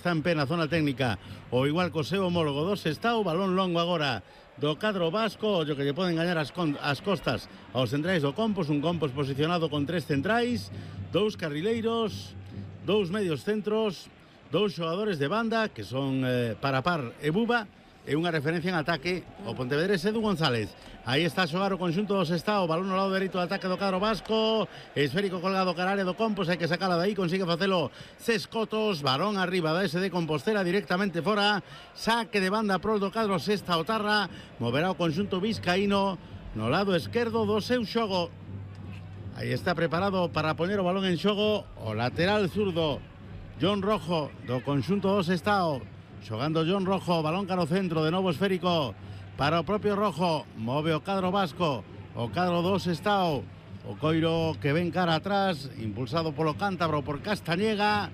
Está en pena zona técnica, o igual co seu homólogo do Sestao. Balón longo agora do cadro vasco, o que lle poden gañar as costas aos centrais do Compos. Un Compos posicionado con 3 centrais, 2 carrileiros, 2 medios centros, 2 xogadores de banda que son Parapar e Buba, e unha referencia en ataque o pontevedrés Edu González. Aí está a xogar o conxunto do Sestao, balón ao lado dereito do ataque do cadro vasco, esférico colgado cara área do Compos, hai que sacala de aí, consigue facelo Sescotos, balón arriba da SD Compostela directamente fora, saque de banda pro do cadro Sestao Tarra, moverá o conxunto vizcaíno no lado esquerdo do seu xogo. Aí está preparado para poñer o balón en xogo o lateral zurdo John Rojo do conxunto do Sestao. Xogando John Rojo, balón caro centro, de novo esférico para o propio Rojo, move o cadro vasco, o cadro do Sestao, o coiro que ven cara atrás, impulsado polo cántabro por Castañeda,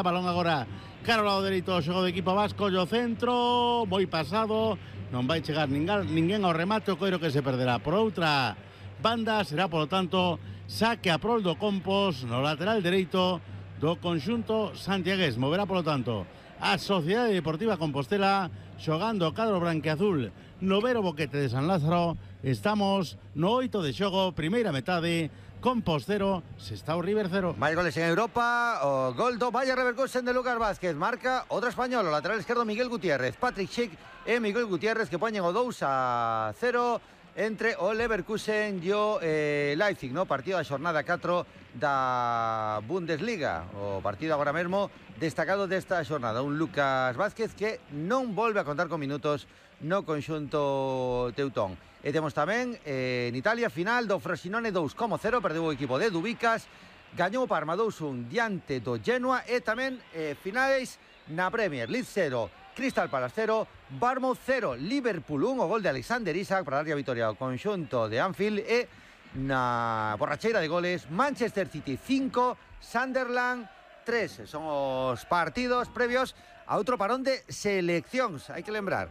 balón agora cara ao lado dereito, xogo do equipo vasco, o centro, moi pasado, non vai chegar ninguén ao remate, o coiro que se perderá. Por outra banda será, polo tanto, saque a prol do Compos no lateral dereito do conxunto santiagués. Moverá, polo tanto, a Sociedade Deportiva Compostela xogando o cadro branqueazul no Vero Boquete de San Lázaro. Estamos no 8 de xogo, primeira metade, Compos 0, Sestao River 0. Máis goles en Europa, o gol do Bayer Leverkusen de Lucas Vázquez, marca outro español, o lateral esquerdo Miguel Gutiérrez. Patrick Schick e Miguel Gutiérrez que poñen o 2-0 entre o Leverkusen e o Leipzig, no partido da xornada 4 da Bundesliga. O partido agora mesmo destacado desta xornada, un Lucas Vázquez que non volve a contar con minutos no conxunto teutón. E temos tamén en Italia final do Frosinone 2-0, perdeu o equipo de Dubicas, gañou o Parma 2-1 diante do Genoa, e tamén finais na Premier League 0, Crystal Palace 0, Bournemouth 0, Liverpool 1, o gol de Alexander Isak para darlle a vitoria ao conxunto de Anfield. E na borracheira de goles, Manchester City 5, Sunderland 3. Son os partidos previos a outro parón de seleccións. Hai que lembrar,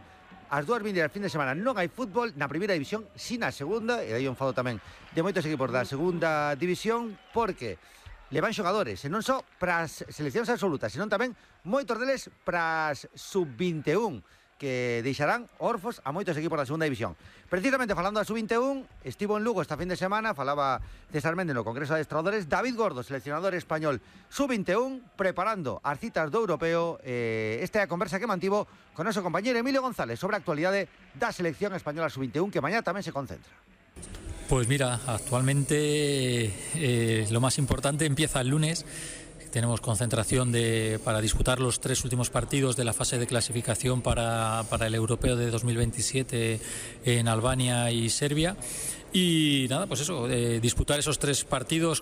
as dúas vindeiras fin de semana non hai fútbol na primeira división, si na segunda, e aí un fado tamén de moitos equipos da segunda división, porque levan xogadores, e non só para as seleccións absolutas, senón tamén moitos deles para as sub-21, que deixarán orfos a moitos equipos da segunda división. Precisamente falando da sub-21, estivo en Lugo esta fin de semana, falaba César Méndez no Congreso de Adestradores, David Gordo, seleccionador español sub-21, preparando as citas do europeo. Esta é a conversa que mantivo con noso compañeiro Emilio González sobre a actualidade da selección española sub-21, que mañá tamén se concentra. Pues mira, actualmente lo más importante empieza el lunes. Tenemos concentración para disputar los 3 últimos partidos de la fase de clasificación para el europeo de 2027 en Albania y Serbia. Y nada, pues eso, disputar esos 3 partidos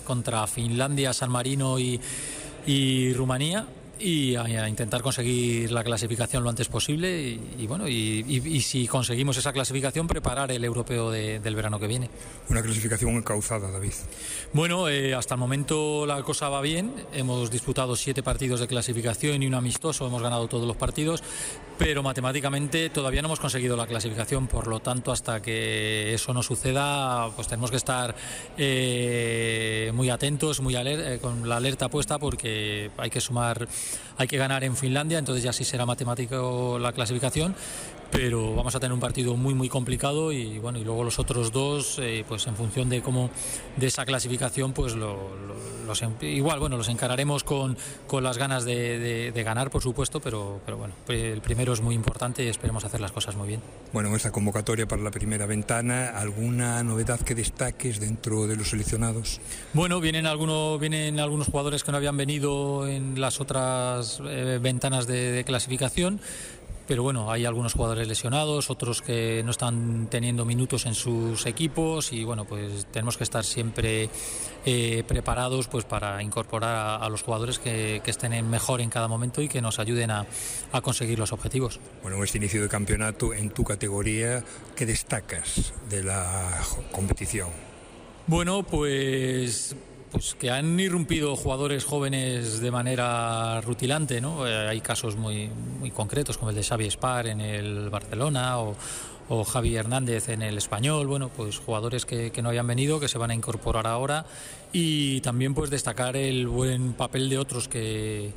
contra Finlandia, San Marino y Rumanía, y a intentar conseguir la clasificación lo antes posible y bueno, y si conseguimos esa clasificación, preparar el europeo del verano que viene. Una clasificación encauzada, David. Bueno, hasta el momento la cosa va bien. Hemos disputado 7 partidos de clasificación y un amistoso, hemos ganado todos los partidos, pero matemáticamente todavía no hemos conseguido la clasificación. Por lo tanto, hasta que eso no suceda, pues tenemos que estar muy atentos, con la alerta puesta, porque hay que ganar en Finlandia, entonces ya sí será matemático la clasificación, pero vamos a tener un partido muy muy complicado, y bueno, y luego los otros 2, pues en función de esa clasificación, pues los encararemos con las ganas de ganar, por supuesto, pero bueno, el primero es muy importante y esperemos hacer las cosas muy bien. Bueno, en esta convocatoria para la primera ventana, ¿alguna novedad que destaques dentro de los seleccionados? Bueno, vienen algunos jugadores que no habían venido en las otras ventanas de clasificación, pero bueno, hay algunos jugadores lesionados, otros que no están teniendo minutos en sus equipos, y bueno, pues tenemos que estar siempre preparados, pues para incorporar a los jugadores que estén mejor en cada momento y que nos ayuden a conseguir los objetivos. Bueno, en este inicio de campeonato, en tu categoría, ¿qué destacas de la competición? Bueno, pues que han irrumpido jugadores jóvenes de manera rutilante, ¿no? Hay casos muy, muy concretos, como el de Xavi Espar en el Barcelona, o Javi Hernández en el Español. Bueno, pues jugadores que no habían venido, que se van a incorporar ahora, y también pues destacar el buen papel de otros que